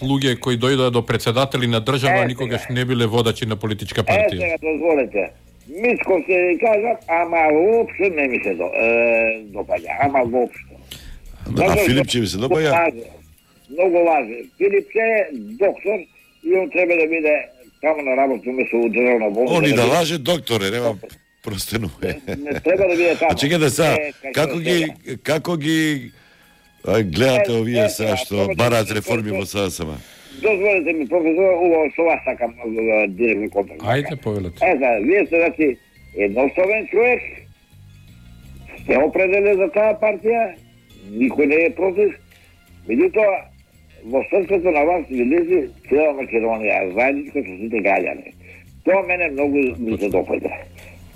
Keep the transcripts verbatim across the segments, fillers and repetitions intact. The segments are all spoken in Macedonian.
луѓе кои дојдоа до председатели на држава, Е, никогаш сега. не биле водачи на политичка Е, партија. сега дозволете. Мицко се ви кажат, ама воопшто не ми се до, е, допаѓа, ама воопшто. А Филипче ви се допаѓа? Многу лаже. Филипче е доктор и он треба да биде таму на работа место у државна болница. Он и да биде- лаже докторе, нема простенување. Не треба да биде таму. А чекај да са, Е, како ги како ги ај, гледате Е, овие е, сега е, што тоа- бараат реформи во СДСМ? Дозволете ми, професор, убаво со вас сакам е, директно контакт. Ајде, повелете. Е, да, вие сте, значи, едноставен човек, сте определен за таа партија, никој не е против, меѓутоа, во срцето на вас ви лези цела Македонија, заедничко со сите граѓани. Тоа мене многу ми се допаѓа.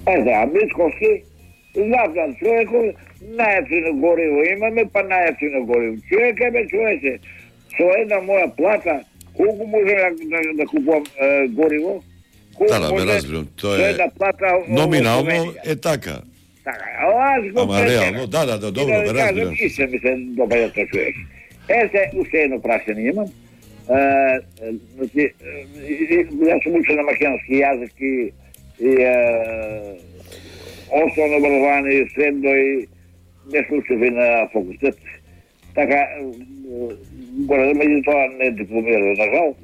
Е, да, Мицковски, знам човекот, најефтино гориво имаме, па најефтино гориво. Човек е, бе, човече, со една моја плата, колку може да, да, да купувам е, гориво? Колку Да, да, бе, може разбирам, тоа со е една плата во номинално Словенија? е така. Така, а аз го Ама претерам. реално, да, да, да, добро, И да бе, ви кажам, разбирам. и се ми се допаѓа тој човек. Е, се, уште едно прашање имам. Е, е, значи, е, и- и- јас сум учен на македонски јазик и, и е, основно образование и средно и не случив и на факултет. Така, е, горе, меѓутоа не дипломирав, на жал.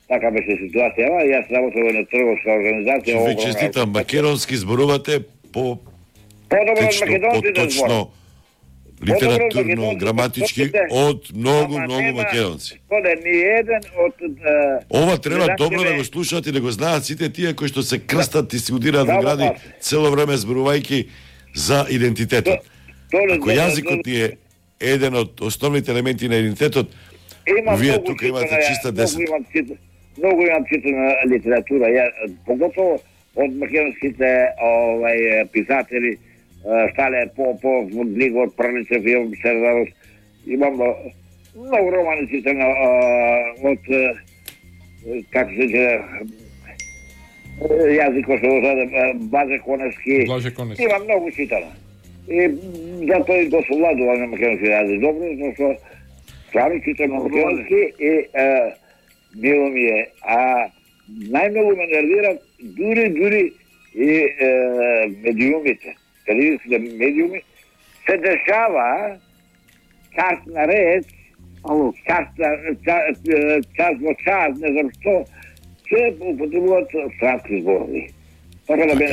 Така беше ситуацијава. Јас работев во една трговска организација. Ќе ви огромна честитам, македонски зборувате по Подобро од течно, македонците зборам. поточно, литературно, граматички, од многу, Ама многу нема, македонци. Коде, ни еден од... е, Ова треба редакторите- добро да го слушаат и да го знаат сите тие кои што се крстат и си удираат во Само гради така. цело време зборувајќи за идентитетот. Тоа Ако јазикот ни е еден од основните елементи на идентитетот, Има вие многу тука имате читана, чиста многу десет. имам чит- Многу имам читана литература, ја, поготово од македонските овај писатели, е, Стале Попов, Глигор Прличев, Јован Сердаров. Имам е, многу романи читана е, од е, како се ќе јазикот се озаде Базе Коневски. Блаже Коневски. Има многу читана. И затоа и го совладувам на македонски јазик добро, зашто стварно читам на македонски и е, мило ми е. А најмногу ме нервират дури, дури и е, медиумите. Телевизиските медиуми се дешава час на реч, час, час, час во час, не знам што, се употребуваат странски зборови. Така да бе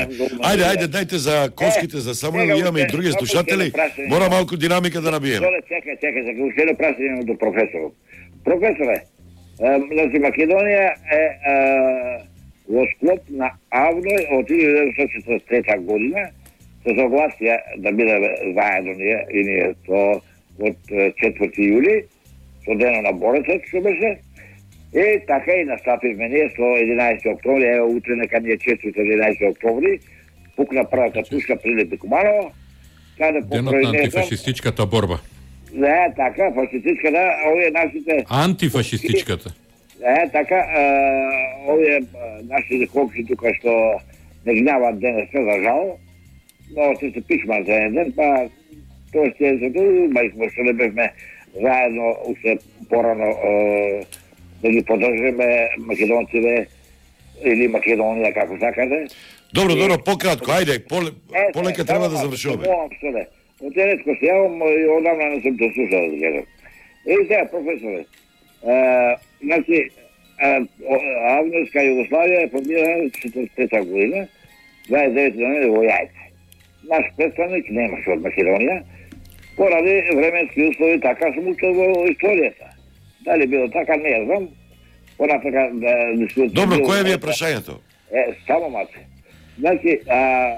Ајде, ајде, дајте за коските, за Самуил, имаме и други слушатели. Мора малку динамика да набиеме. Доле, чекај, чекај, за уште едно прашање до професорот. Професоре, е, значи Македонија е, е во склоп на Авној од илјада деветстотини четиридесет и трета година се согласија да бидеме заедно ние и ние то од е, четврти јули, со денот на борецот што беше. И така и настапивме ние со единаесети октомври, ево утре нека ни е четврти единаесети октомври, пукна првата пушка Прилепи Куманово, каде Денот покрој на не знам, антифашистичката борба. да, така, фашистичка, да, овие нашите... Антифашистичката. Е, така, е, овие е, нашите комши тука што не гнават денеска, за жал, но се се пишман за еден ден, па тоа ще е за тоа, ма и сме што не бевме заедно, уште порано, е, да ги поддржиме македонците или Македонија, како сакате. Добро, добро, пократко, ајде, поле, Е, полека е, треба само да малку, завршуваме. молам се, бе. Од ретко се јавам и одамна не сум те слушал да кажам. И сега, професоре, е, значи, е, о- Авнорска Југославија е формирана четиридесет и трета година, дваесет и девети ноември во Јајце. Наш представник немаше од Македонија, поради временски услови, така сум учил во историјата. Дали било така, не знам. Понатака да дискутираме. Добро, кое ви е прашањето? Е, само мате. Значи, а,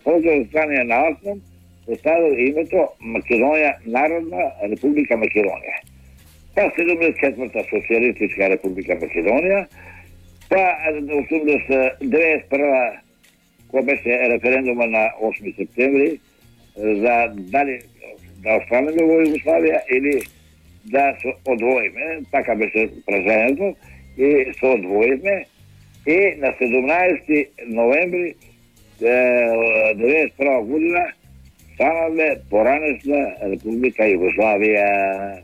позор стране на Аснам поставил името Македонија, Народна Република Македонија. Па седумдесет и четврта Социјалистичка Република Македонија, па осумдесет и прва кој беше референдума на осми септември за дали да останеме во Југославија или да се одвоиме, така беше прашањето, и се одвоиме и на седумнаесети ноември деветдесет и прва година станале поранешна Република Југославија.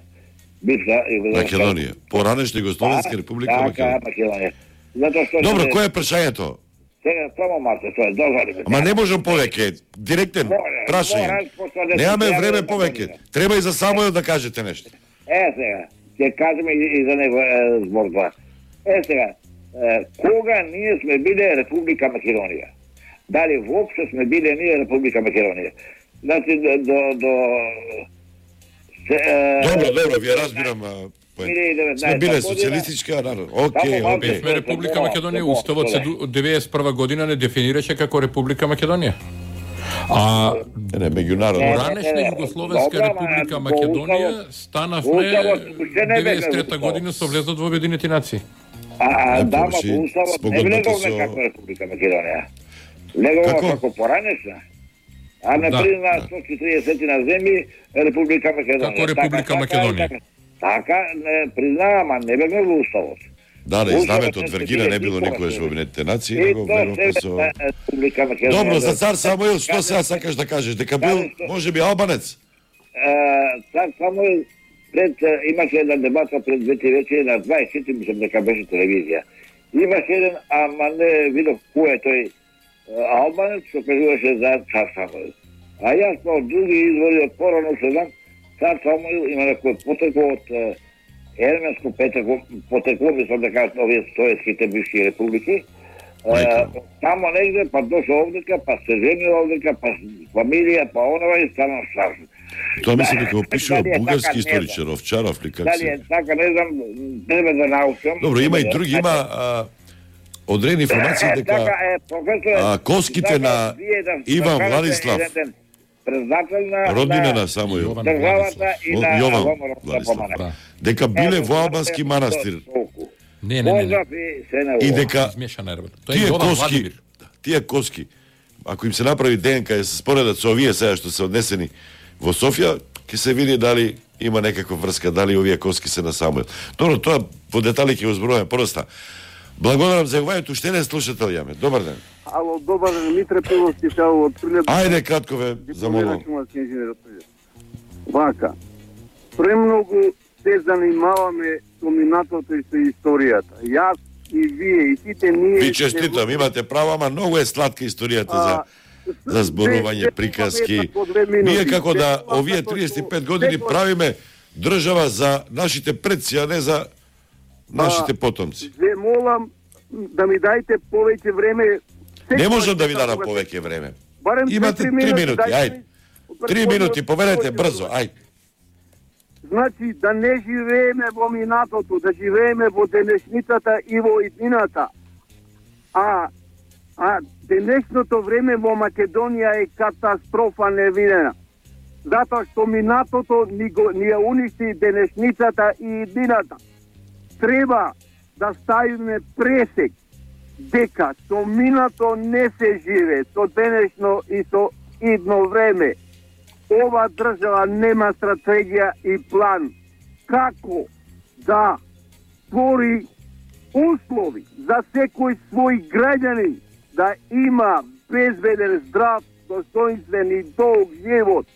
бивша Југословенска Македонија. Поранешна Југословенска република Македонија. Македонија. Затоа што Добро, кое е прашањето? Сега само малку, тоа е дозволи. Ама не можам повеќе, директен прашање. Немаме време повеќе. Треба и за Самуил да кажете нешто. Е сега, ќе кажеме и за него збор два. Е сега, кога ние сме биле Република Македонија? Дали воопшто сме биле ние Република Македонија? Значи до до Добро, добро, ви разбирам. Сме биле социјалистичка народ. Океј, океј. Сме Република Македонија, уставот се деветдесет и прва година не дефинираше како Република Македонија. А не меѓународно. Ранешна Југословенска република Македонија станавме деветдесет и трета година со влезот во Обединети нации. А да, во уставот не влеговме како Република Македонија. Влеговме како поранешна. А не призна сто четиридесет на земји Република Македонија. Како Република Македонија. Така не признава, ама не беме во уставот. Да, да, знамето од Вергина не било никогаш во Обединетите нации, него влеговме со... Добро, за цар Самуил, што сега сакаш да кажеш? Дека бил, може би, албанец? Цар Самуил, пред, имаше една дебата пред двете вечери на дваесет и четири, мислам дека беше телевизија. Имаше еден, ама не видов кој е тој албанец, што кажуваше за цар Самуил. А јас по други извори од порано се знам, цар Самуил има некој потекло од ерменско потекло, мислам да кажат овие советските бивши републики. Тамо негде, па дошо овдека, па се женил овдека, па фамилија, па онова и станал страшно. Тоа мислам дека опишува бугарски историчар, Овчаров ли как се? Дали е така, не знам, треба да научам. Добро, има и други, има одредени информации дека коските на Иван Владислав, роднина на Самуил, државата и на Јован Владислав, дека биле во албански манастир. Не, не, не. И дека тие коски, тие коски, ако им се направи ДНК и се споредат со овие сега што се однесени во Софија, ќе се види дали има некаква врска, дали овие коски се на Самуил. Добро, тоа по детали ќе го зборуваме просто. Благодарам за јавањето, уште не слушател јаме. Добар ден. Ало, добар ден, Митре Пиловски сеал од Прилеп. Ајде кратко ве замолувам. Вака. Премногу се занимаваме со минатото и со историјата. Јас и вие и сите ние... Ви честитам, имате право, ама многу е сладка историјата за за зборување, приказки. Ние како да овие триесет и пет години правиме држава за нашите предци, а не за нашите потомци. Ве молам да ми дајте повеќе време. Не можам да ви дадам повеќе време. Имате три минути, ајде. Три минути, поверете брзо, ајде. Значи, да не живееме во минатото, да живееме во денешницата и во иднината. А, а денешното време во Македонија е катастрофа невидена. Затоа што минатото ни, го, ни ја уништи денешницата и иднината. Треба да ставиме пресек дека со минато не се живе, со денешно и со идно време. Ова држава нема стратегија и план како да твори услови за секој свој граѓанин да има безбеден, здрав, достоинствен и долг живот.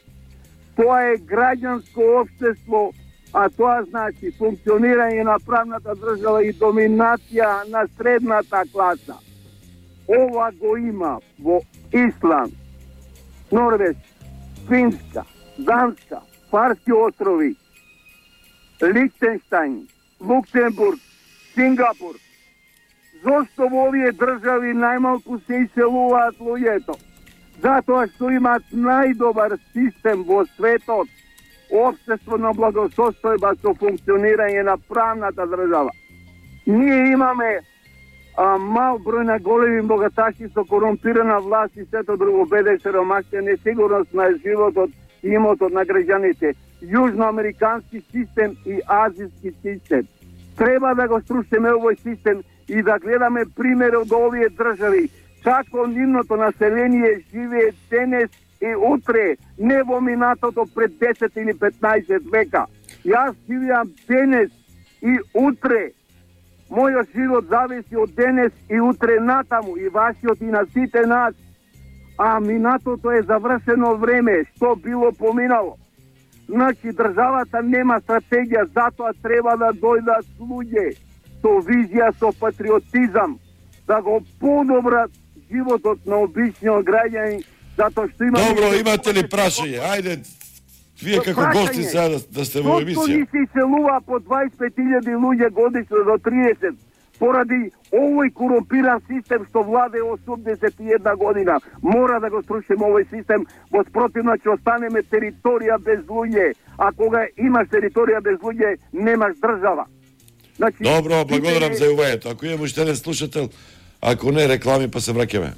Тоа е граѓанско општество, а тоа значи функционирање на правната држава и доминација на средната класа. Ова го има во Исланд, Норвешка, Финска, Данска, Фарски острови, Лихтенштајн, Луксембург, Сингапур. Зошто во овие држави најмалку се иселуваат луѓето? Затоа што имаат најдобар систем во светот, општество на благосостојба со функционирање на правната држава. Ние имаме а, мал број на големи богаташи со корумпирана власт и сето друго, беде, сиромаштија, несигурност на животот и имотот на граѓаните, јужноамерикански систем и азиски систем. Треба да го струшиме овој систем и да гледаме пример од овие држави, како нивното население живее денес и утре, не во минатото пред десет или петнаесет века. Јас живеам денес и утре. Мојот живот зависи од денес и утре натаму, и вашиот и на сите нас. А минатото е завршено време, што било поминало. Значи, државата нема стратегија, затоа треба да дојдат луѓе со визија, со патриотизам, да го подобрат животот на обичниот граѓанин, затоа што има... Добро, имате ли прашање? Ајде, вие како гости сега да, да сте во емисија. Зошто ни се иселува по дваесет и пет илјади луѓе годишно до тридесет, поради овој корумпиран систем што владе осумдесет и една година. Мора да го срушиме овој систем, во спротивно ќе останеме територија без луѓе, а кога имаш територија без луѓе, немаш држава. Значи, Добро, благодарам за јувањето. Ако имаме уште еден слушател, ако не реклами, па се враќаме.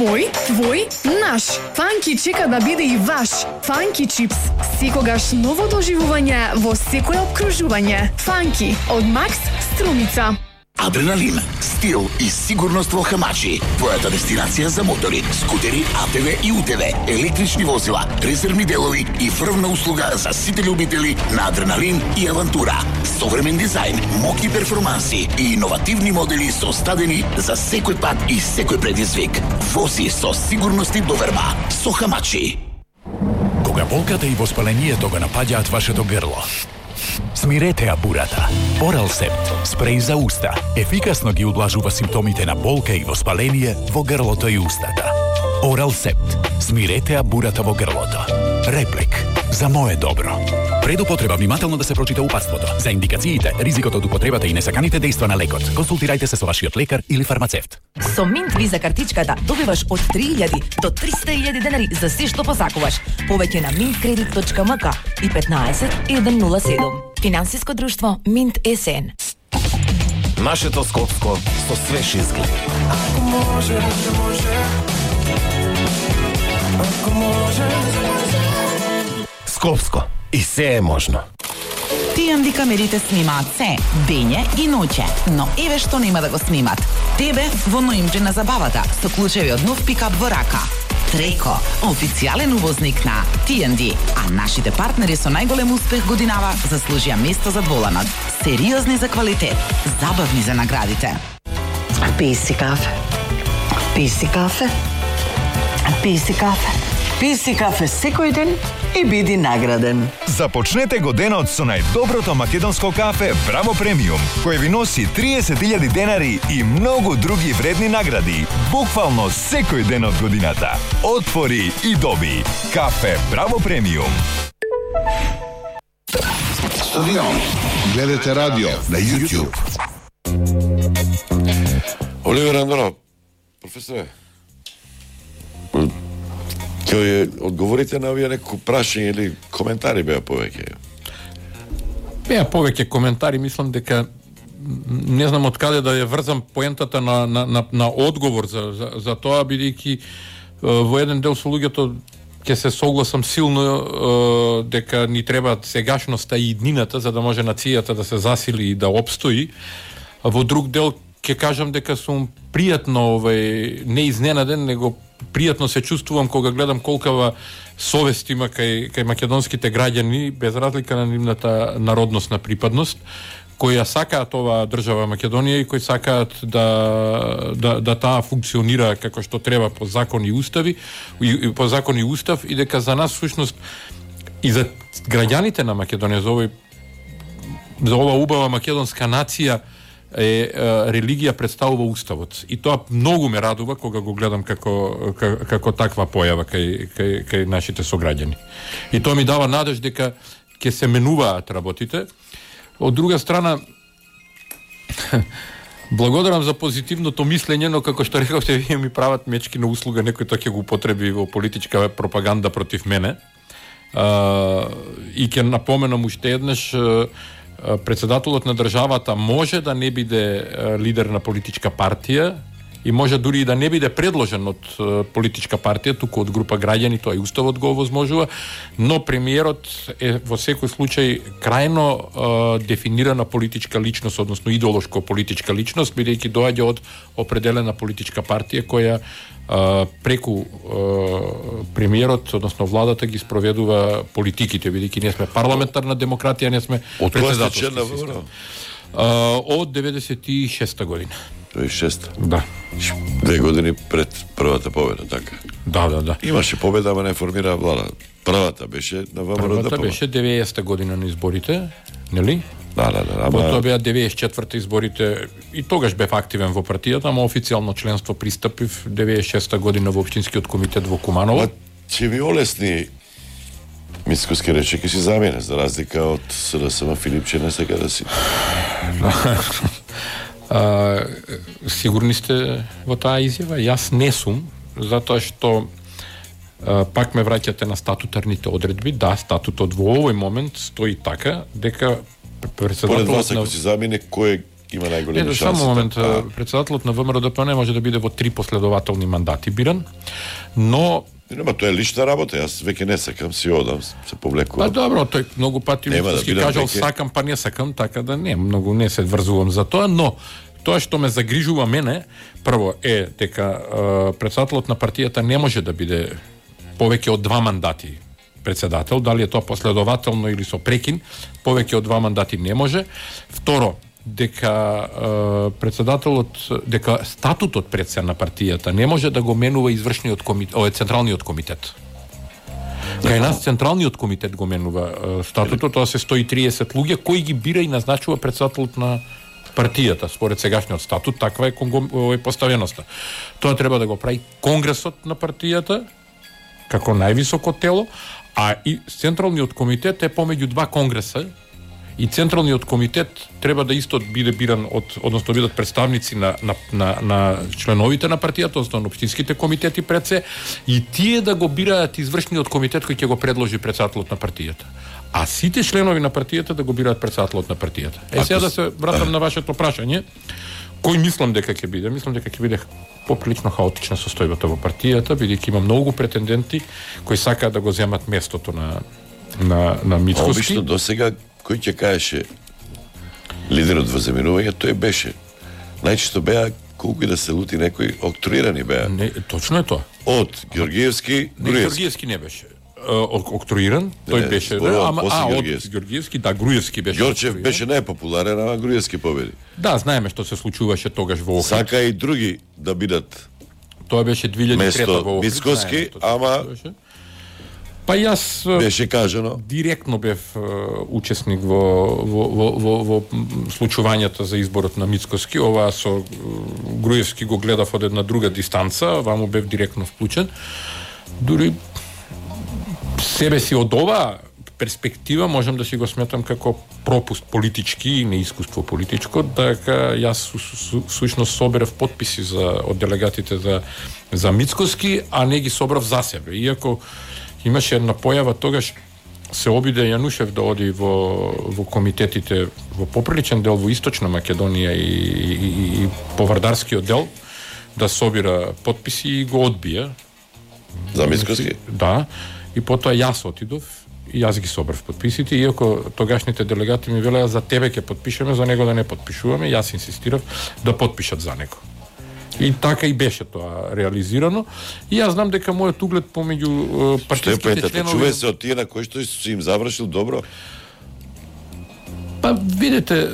Мој, твој, наш. Фанки чека да биде и ваш. Фанки чипс. Секогаш ново доживување во секое обкружување. Фанки од Макс Струмица. Адреналин, стил и сигурност во Хамачи. Твојата дестинација за мотори, скутери, А Т В и У Т В, електрични возила, резервни делови и врвна услуга за сите љубители на адреналин и авантура. Современ дизајн, моки перформанси и иновативни модели составени за секој пат и секој предизвик. Вози со сигурност и доверба со Хамачи. Кога болката и воспалението го напаѓаат вашето грло, смирете ја бурата. Оралсепт, спреј за уста, ефикасно ги удлажува симптомите на болка и воспаление во грлото и устата. Оралсепт, смирете ја бурата во грлото. Реплик, за мое добро. Пред употреба внимателно да се прочита упатството. За индикациите, ризикот од употребата и несаканите дејства на лекот, консултирајте се со вашиот лекар или фармацевт. Со Минт Виза картичката добиваш од три илјади до триста илјади денари за се што посакуваш. Повеќе на минт кредит точка ем ка и петнаесет еден нула седум. Финансиско друштво Минт Ес Ен. Нашето Скопско со свеж изглед. Ако може, може. Ако може, може. Скопско. И се е можно. Ти Ен Ди камерите снимаат се, дење и ноќе, но еве што нема да го снимат. Тебе во ноември на забавата со клучеви од нов пикап во рака. Треко, официјален увозник на Ти Ен Ди, а нашите партнери со најголем успех годинава заслужија место за дволанот. Сериозни за квалитет, забавни за наградите. Пи си кафе. Пи си кафе. Пи си кафе. Пи си кафе секој ден и биди награден. Започнете го денот со најдоброто македонско кафе Браво Премиум, кој ви носи триесет илјади денари и многу други вредни награди, буквално секој ден од годината. Отвори и доби. Кафе Браво Премиум. Стадион. Гледате радио на YouTube. Оливер Андонов, професоре, ќе одговорите на овие некои прашања или коментари беа повеќе? Беа повеќе коментари, мислам дека не знам од каде да ја врзам поентата на, на, на, на одговор за, за, за тоа, бидејќи во еден дел со луѓето ќе се согласам силно дека ни треба сегашноста и иднината за да може нацијата да се засили и да обстои. А во друг дел ќе кажам дека сум пријатно овај не изненаден, него пријатно се чувствувам кога гледам колкава совест има кај, кај македонските граѓани, без разлика на нивната народносна припадност, кои ја сакаат оваа држава Македонија и кои сакаат да, да, да таа функционира како што треба по закон и устави, и, по закон и устав, и дека за нас всушност и за граѓаните на Македонија, за овој за ова убава македонска нација е, е религија представува уставот. И тоа многу ме радува кога го гледам како како, како таква појава кај, кај, кај нашите сограѓани. И тоа ми дава надеж дека ќе се менуваат работите. Од друга страна, благодарам за позитивното мислење, но како што рековте, вие ми прават мечки на услуга, некој тоа ќе го употреби во политичка пропаганда против мене. А, и ќе напоменам уште еднаш, председателот на државата може да не биде лидер на политичка партија и може дури и да не биде предложен од политичка партија, туку од група граѓани, тоа и уставот го овозможува, но премиерот е во секој случај крајно е, дефинирана политичка личност, односно идеолошко политичка личност, бидејќи доаѓа од определена политичка партија која е, преку е, премиерот, односно владата ги спроведува политиките, бидејќи не сме парламентарна демократија, не сме председателски систем. А, од деветдесет и шеста година. деветдесет и шеста? Да. Две години пред првата победа, така? Да, да, да. Имаше победа, ама не формира влада. Првата беше на ВМРО ДПМН. Првата беше деветдесета година на изборите, нели? Да, да, да. Ама... Потоа беа деветдесет и четврта изборите и тогаш бев активен во партијата, ама официјално членство пристапив деветдесет и шеста година во општинскиот комитет во Куманово. Ма ќе ви олесни Мицкоски рече ќе си замене, за разлика од СДСМ Филипче не сега да си. А, сигурни сте во таа изјава? Јас не сум, затоа што а, пак ме враќате на статутарните одредби. Да, статутот во овој момент стои така дека председателот Поред вас, ако на... си замине, кој има најголеми шанси? Само момент, а... председателот на ВМРО ДПМН може да биде во три последователни мандати биран, но нема, тоа е лична работа, јас веќе не сакам, си одам, се повлекувам. Па добро, тој многу пати Мицкоски да кажал веке... сакам, па не сакам, така да не, многу не се врзувам за тоа, но тоа што ме загрижува мене, прво е дека е, председателот на партијата не може да биде повеќе од два мандати председател, дали е тоа последователно или со прекин, повеќе од два мандати не може. Второ, дека е, председателот, дека статутот предсе на партијата не може да го менува извршниот комитет, о, централниот комитет. Кај нас централниот комитет го менува е, статутот, тоа се сто и триесет луѓе кои ги бира и назначува председателот на партијата, според сегашниот статут, таква е, е поставеноста. Тоа треба да го прави конгресот на партијата, како највисоко тело, а и Централниот комитет е помеѓу два конгреса, и Централниот комитет треба да исто биде биран од, односно бидат представници на, на, на, на членовите на партијата, односно на општинските комитети пред се, и тие да го бираат извршниот комитет кој ќе го предложи председателот на партијата. А сите членови на партијата да го бираат председателот на партијата. Е, сега да се вратам на вашето прашање, кој мислам дека ќе биде? Мислам дека ќе биде поприлично хаотична состојбата во партијата, бидејќи има многу претенденти кои сакаат да го земат местото на на на Мицкоски. Обично досега кој ќе кажеше лидерот во заминување, тој беше. Најчесто беа колку и да се лути некои октруирани беа. Не, точно е тоа. Од Ѓоргиевски, не, Ѓоргиевски не беше. Октруиран, тој не, беше, да, ама а од Ѓоргиевски, да, Груевски беше. Ѓорчев беше најпопуларен, ама Груевски победи. Да, знаеме што се случуваше тогаш во Охрид. Сака и други да бидат. Тоа беше две илјади и трета во Охрид. Мицкоски, ама па јас беше кажано директно бев учесник во во во во, во случувањата за изборот на Мицкоски. Ова со Груевски го гледав од една друга дистанца, ваму бев директно вклучен. Дури себе си од оваа перспектива можам да си го сметам како пропуст политички и неискуство политичко, дека јас всушност соберав потписи за од делегатите за за Мицкоски, а не ги собрав за себе. Иако имаше една појава тогаш, се обиде Јанушев да оди во во комитетите во поприличен дел во Источна Македонија и, и, и Повардарскиот дел да собира потписи и го одбија. За Мицкоски? Да. И потоа јас отидов и јас ги собрав потписите, иако тогашните делегати ми велеа за тебе ќе потпишеме, за него да не потпишуваме, јас инсистирав да потпишат за него. И така и беше тоа реализирано. И јас знам дека мојот углед помеѓу партиските членови... Чуве се од тие на кои што си им завршил добро? Па, видите,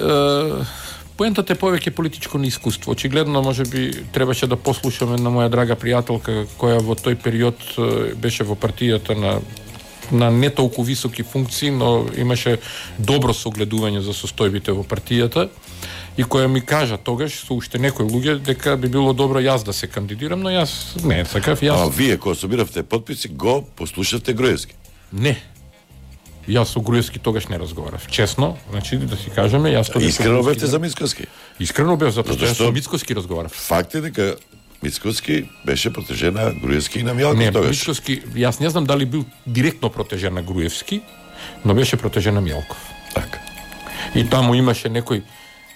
поентата е повеќе политичко неискуство. Очигледно, може би, требаше да послушаме на моја драга пријателка, која во тој период беше во партијата на на не толку високи функции, но имаше добро согледување за состојбите во партијата, и која ми кажа тогаш со уште некои луѓе дека би било добро јас да се кандидирам, но јас не сакав. Јас... А вие кога собиравте потписи, го послушавте Груевски? Не. Јас со Груевски тогаш не разговарав. Честно, значи да си кажеме, јас тогаш... Искрено бевте за Мицкоски? Искрено бев, затоа што јас со Мицкоски разговарав. Факт е дека Мицкоски беше протежен на Груевски и на Мјалков не, тогаш. Не, Мицкоски, јас не знам дали бил директно протежен на Груевски, но беше протежен на Мјалков. Така. И таму имаше некои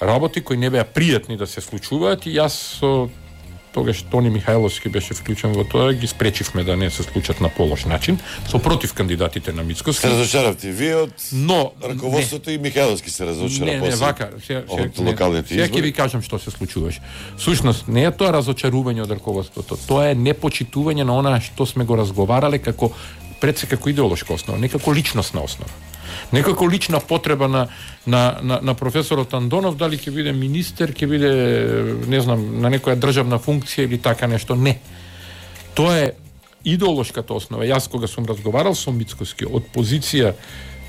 работи кои не беа пријатни да се случуваат, и јас со тогаш Тони Михајловски беше вклучен во тоа, ги спречивме да не се случат на полош начин, со против кандидатите на Мицкоски. Се разочаравте вие од но раководството не. И Михајловски се разочара не, после. Не, вака, се, од локалните избори. Сега ќе ви кажам што се случуваше. Всушност не е тоа разочарување од раководството, тоа е непочитување на она што сме го разговарале како пред се како идеолошка основа, не како личностна основа. Некако лична потреба на на на, на професорот Андонов, дали ќе биде министер, ќе биде не знам на некоја државна функција или така нешто, не. Тоа е идеолошката основа. Јас кога сум разговарал со Мицкоски од позиција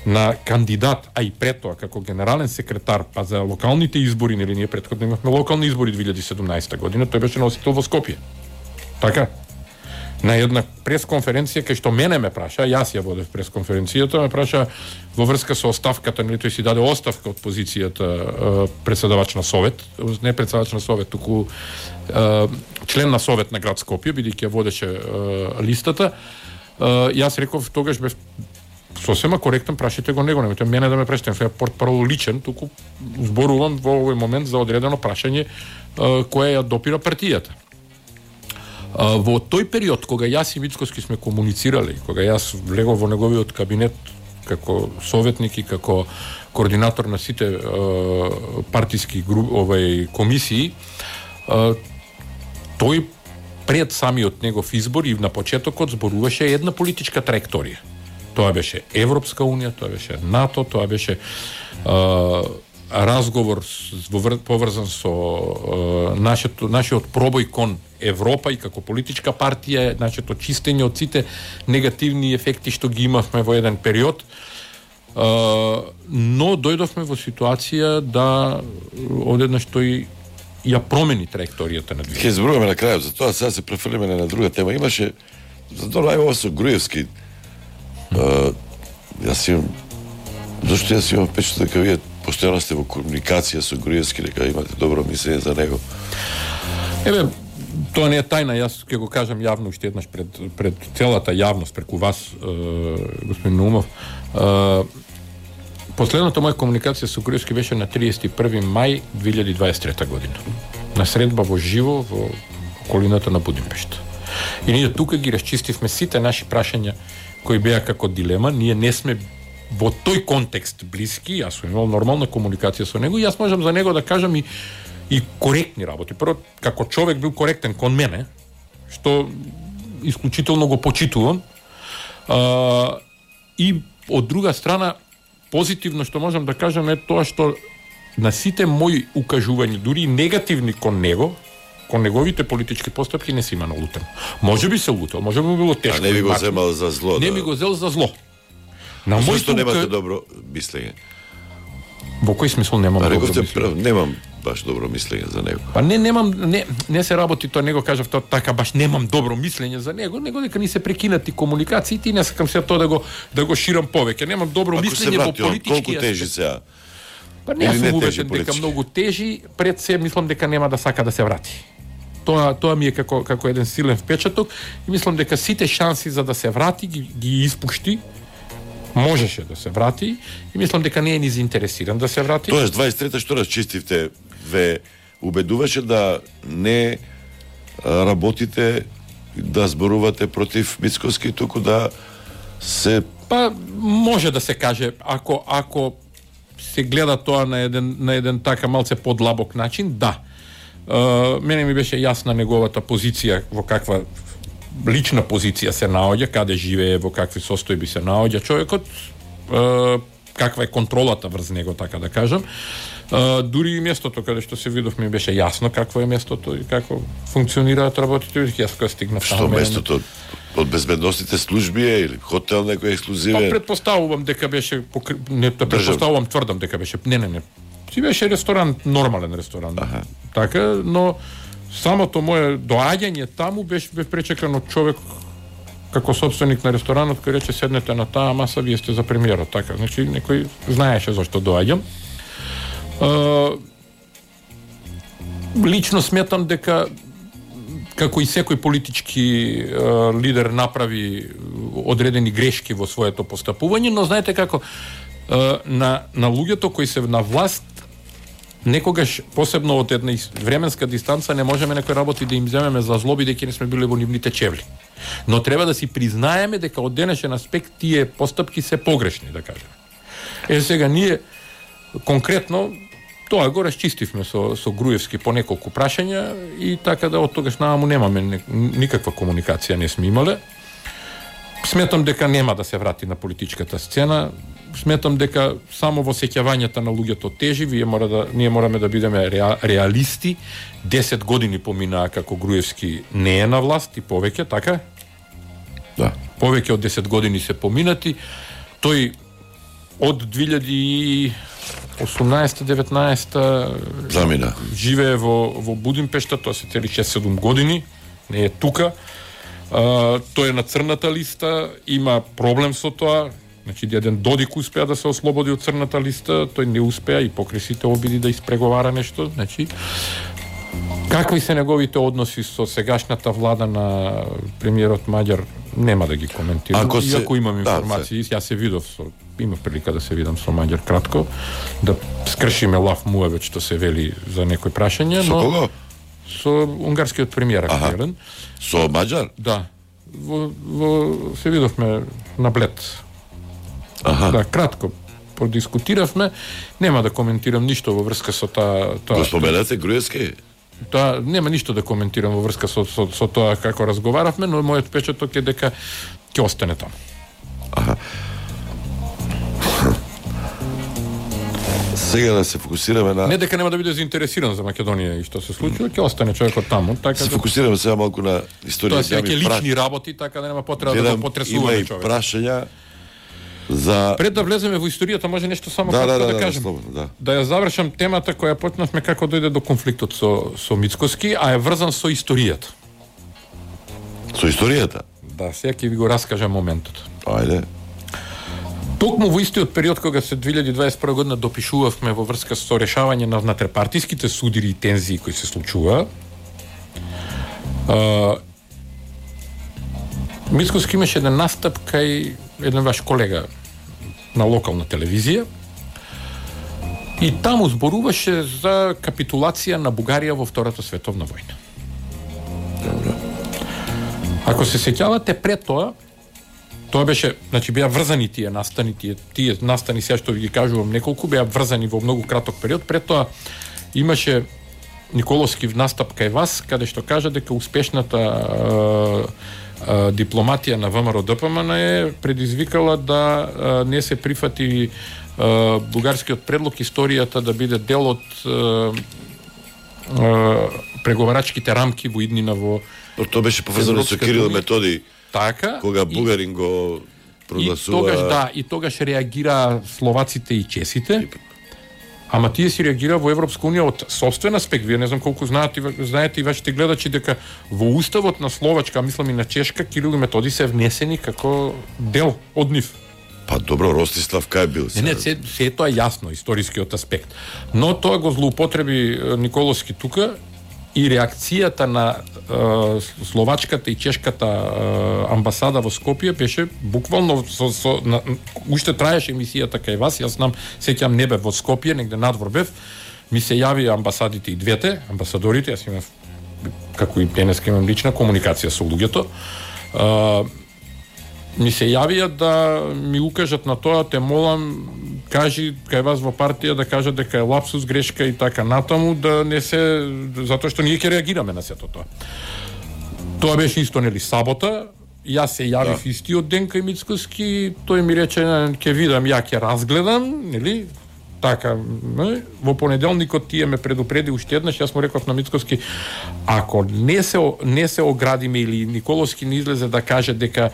на кандидат, а и пред тоа како генерален секретар, па за локалните избори, нели ние претходно имавме локални избори две илјади и седумнаесета година, тој беше носител во Скопје. Така? На една пресконференција кај што мене ме праша, јас ја водев пресконференцијата, ме праша во врска со оставката, нели тој си даде оставка од позицијата председавач на совет, не председавач на совет, туку член на совет на град Скопје, бидејќи ја водеше листата. Јас реков тогаш бев сосема коректен, прашите го него, немојте мене да ме прашате, ја портпарол личен, туку зборувам во овој момент за одредено прашање кое ја допира партијата. Во тој период, кога јас и Мицкоски сме комуницирали, кога јас влегов во неговиот кабинет како советник и како координатор на сите е, партиски груп, овај комисии, е, тој пред самиот негов избор и на почетокот зборуваше една политичка траекторија. Тоа беше Европска унија, тоа беше НАТО, тоа беше е, разговор поврзан со е, нашето, нашиот пробој кон Европа и како политичка партија, нашето чистење од сите негативни ефекти што ги имавме во еден период. Uh, но дојдовме во ситуација да одеднаш тој ја промени траекторијата на движење. Ќе зборуваме на крајот, за тоа сега се префрлиме на друга тема. Имаше за тоа ајмо со Груевски. Uh, јас имам зашто јас имам впечаток дека вие постојано сте во комуникација со Груевски, дека имате добро мислење за него. Еве, тоа не е тајна, јас ќе го кажам јавно уште еднаш пред пред целата јавност, преку вас, е, господин Наумов. Е, последната моја комуникација со Груевски беше на триесет и први мај две илјади дваесет и трета година. На средба во живо во околината на Будимпешта. И ние тука ги расчистивме сите наши прашања кои беа како дилема. Ние не сме во тој контекст блиски, јас сум имал нормална комуникација со него и јас можам за него да кажам и и коректни работи. Прво, како човек бил коректен кон мене, што исклучително го почитувам. А, и од друга страна, позитивно што можам да кажам е тоа што на сите мои укажувања, дури и негативни кон него, кон неговите политички постапки не си има налутен. Може би се лутел, може би било тешко. А не би го земал за зло. Не да. би го зел за зло. На моето зашто немате ука... добро мислење? Во кој смисол немам а, добро мислење? Прав, немам баш добро мислење за него. Па не немам не не се работи тоа, него кажав тоа така баш немам добро мислење за него, него дека ни се прекинати комуникациите и не сакам се тоа да го да го ширам повеќе. Немам добро Ако мислење во политички. Колку тежи сега? Па не сум убеден дека многу тежи, пред се мислам дека нема да сака да се врати. Тоа тоа ми е како како еден силен впечаток и мислам дека сите шанси за да се врати ги, ги испушти. Можеше да се врати и мислам дека не е ни заинтересиран да се врати. Тоаш дваесет и трета што расчистивте, ве убедуваше да не работите, да зборувате против Мицкоски, туку да се... Па може да се каже, ако ако се гледа тоа на еден на еден така малце подлабок начин, да. Uh, мене ми беше јасна неговата позиција, во каква лична позиција се наоѓа, каде живее, во какви состојби се наоѓа човекот, uh, каква е контролата врз него, така да кажам. Uh, дури и местото каде што се видов ми беше јасно какво е местото и како функционираат работите, јас кога стигнав таму. Што местото од безбедносните служби е или хотел некој ексклузивен? Па предпоставувам дека беше покр... не предпоставувам, тврдам дека беше не не не. Си беше ресторан, нормален ресторан. Аха. Така, но самото мое доаѓање таму беше бе пречекано човек како собственик на ресторанот кој рече седнете на таа маса, вие сте за премиерот, така. Значи некој знаеше зашто доаѓам. Uh, лично сметам дека како и секој политички uh, лидер направи одредени грешки во своето постапување, но знаете како uh, на на луѓето кои се на власт некогаш, посебно од една временска дистанца, не можеме некои работи да им земеме за зло, бидејќи не сме били во нивните чевли. Но треба да си признаеме дека од денешен аспект тие постапки се погрешни, да кажеме. Е, сега ние конкретно тоа го расчистивме со, со Груевски по неколку прашања и така да од тогаш наваму немаме никаква комуникација, не сме имале. Сметам дека нема да се врати на политичката сцена. сметам дека само во сеќавањата на луѓето тежи, вие мора да ние мораме да бидеме реа, реалисти. десет години поминаа како Груевски не е на власт и повеќе, така? Да. Повеќе од десет години се поминати. Тој од две илјади и осумнаесета деветнаесета замина. Живее во во Будимпешта, тоа се цели шест-седум години, не е тука. Uh, тој е на црната листа, има проблем со тоа. Значи, еден Додик успеа да се ослободи од црната листа, тој не успеа и покрај сите обиди да испреговара нешто. Значи, какви се неговите односи со сегашната влада на премиерот Маѓар, нема да ги коментирам. Ако се... Иако имам информации, да, јас се видов со има прилика да се видам со Маѓар кратко, да скршиме лав муавет што се вели за некои прашања, но... Со кого? Со унгарскиот премиер актуелен. Со Маѓар? Да. Во, во се видовме на Блед. Аха. Да, кратко продискутиравме, нема да коментирам ништо во врска со таа тоа. Го споменате Груевски? Тоа нема ништо да коментирам во врска со со, со тоа како разговаравме, но мојот печаток е дека ќе остане таму. Аха. Сега да се фокусираме на... Не дека нема да биде заинтересиран за Македонија и што се случува, ќе остане човекот таму. Така се да... фокусираме сега малку на историја. Тоа се ќе лични праш... работи, така да нема потреба да го потресуваме човек. Има и прашања за... Пред да влеземе во историјата, може нешто само да, да, да, да, да кажем. Да, да. да ја завршам темата која почнавме како дојде до конфликтот со, со Мицкоски, а е врзан со историјата. Со историјата? Да, сега ќе ви го раскажам моментот. Ајде. Токму во истиот период кога се две илјади дваесет и прва година допишувавме во врска со решавање на внатрепартиските судири и тензии кои се случува, а, Мицкоски имаше еден настап кај еден ваш колега на локална телевизија и таму зборуваше за капитулација на Бугарија во Втората световна војна. Ако се сеќавате пред тоа, тоа беше, значи беа врзани тие настани, тие, тие настани сега што ви ги кажувам неколку, беа врзани во многу краток период. Пред тоа имаше Николовски настап кај вас, каде што кажа дека успешната е, е, дипломатија на ВМРО-ДПМН е предизвикала да е, не се прифати е, бугарскиот предлог историјата да биде дел од е, е, преговарачките рамки во иднина во... Но тоа беше поврзано со Кирил Методи. Така, кога бугарин го прогласува... И тогаш, да, и тогаш реагира словаците и чесите, ама тие си реагира во Европска унија од собствен аспект. Вие не знам колку знаете, знаете и вашите гледачи дека во уставот на Словачка, мислам и на Чешка, Кирил и Методи се внесени како дел од нив. Па добро, Ростислав кај бил? Не, не, се, се тоа е јасно, историскиот аспект. Но тоа го злоупотреби Николовски тука, и реакцијата на е, словачката и чешката е, амбасада во Скопје беше буквално со, со на, уште траеше емисијата кај вас, јас знам, сеќам не бев во Скопје, негде надвор бев, ми се јави амбасадите и двете, амбасадорите, јас имав како и денеска имам лична комуникација со луѓето. Е, ми се јавија да ми укажат на тоа, те молам, кажи кај вас во партија да кажат дека е лапсус, грешка и така натаму, да не се, затоа што ние ќе реагираме на сето тоа. Тоа беше исто, нели, сабота, јас се јавив да. Истиот ден кај Мицкоски, тој ми рече, ќе видам, ја ќе разгледам, нели, така, не? Во понеделникот тие ме предупреди уште еднаш, јас му реков на Мицкоски, ако не се, не се оградиме или Николовски не излезе да каже дека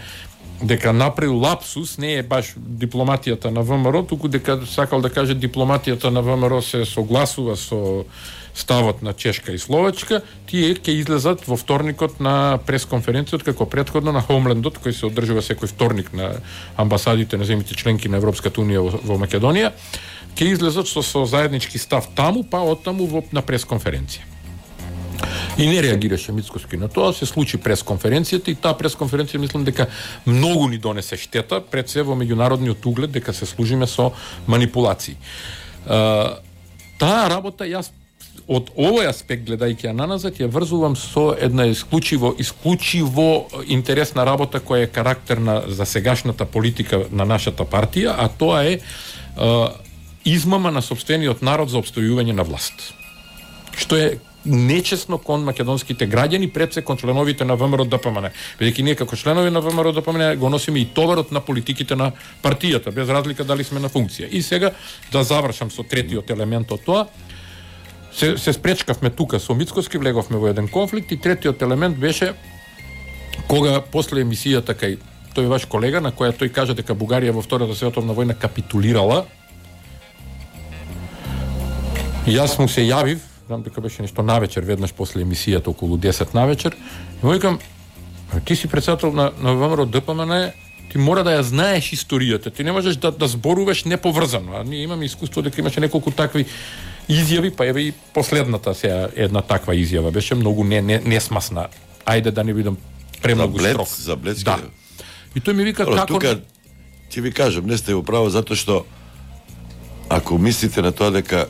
дека направил лапсус, не е баш дипломатијата на ВМРО, туку дека сакал да каже дипломатијата на ВМРО се согласува со ставот на Чешка и Словачка, тие ќе излезат во вторникот на пресконференцијата како претходно на Хомлендот, кој се одржува секој вторник на амбасадите на земјите членки на Европската унија во, во Македонија, ќе излезат со, со заеднички став таму, па оттаму во, на пресконференција. И не реагираше Мицкоски на тоа, се случи пресконференцијата и таа пресконференција мислам дека многу ни донесе штета, пред се во меѓународниот углед, дека се служиме со манипулации. Uh, таа работа јас од овој аспект гледајќи ја наназад ја врзувам со една исклучиво исклучиво интересна работа која е карактерна за сегашната политика на нашата партија, а тоа е uh, измама на сопствениот народ за опстојување на власт. Што е нечесно кон македонските граѓани, пред се кон членовите на ВМРО Д П М Н. Бидејќи ние како членови на ВМРО Д П М Н го носиме и товарот на политиките на партијата, без разлика дали сме на функција. И сега да завршам со третиот елемент од тоа. Се, се спречкавме тука со Мицкоски, влеговме во еден конфликт и третиот елемент беше кога после емисијата кај тој ваш колега на која тој кажа дека Бугарија во Втората световна војна капитулирала. И јас му се јавив, знам дека беше нешто навечер, веднаш после емисијата околу десет навечер, и му викам, ти си председател на, на ВМРО Д П М Н, ти мора да ја знаеш историјата, ти не можеш да, да зборуваш неповрзано. А ние имаме искуство дека имаше неколку такви изјави, па еве и последната сега една таква изјава беше многу не, не, несмасна. Ајде да не бидам премногу строг. За блецки. Да. И тој ми вика Ало, како... Тука, ќе ви кажам, не сте управо, затоа што ако мислите на тоа дека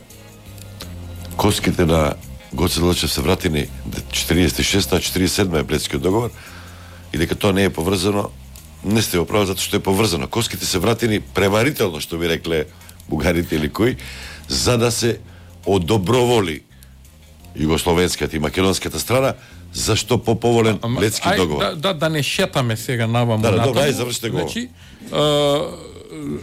коските на Гоце Делчев се вратени четиридесет и шеста, четиридесет и седма е Блецкиот договор и дека тоа не е поврзано, не сте управо затоа што е поврзано. Коските се вратени преварително, што би рекле бугарите или кои, за да се одоброволи југословенската и македонската страна, зашто поповолен Блецки ај, договор. Да, да, да не шетаме сега наваму. Да, да, натаму. добро, ај, завршите го. Значи,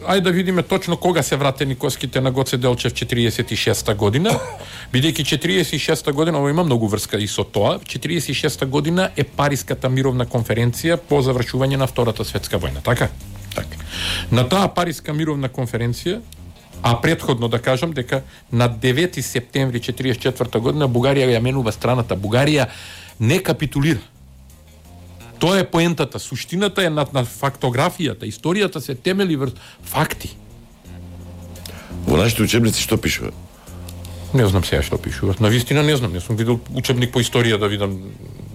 ајде да видиме точно кога се вратени коските на Гоце Делчев четиридесет и шеста година, бидејќи четиридесет и шеста година, ово има многу врска и со тоа, четиридесет и шеста година е Париската мировна конференција по завршување на Втората светска војна, така? Така. На таа Париска мировна конференција, а претходно да кажам дека на девети септември четиридесет и четврта година Бугарија ја менува страната. Бугарија не капитулира. Тоа е поентата, суштината е на, на фактографијата, историјата се темели врз факти. Во нашите учебници што пишува? Не знам сега што пишува. Навистина не знам, не сум видел учебник по историја да видам.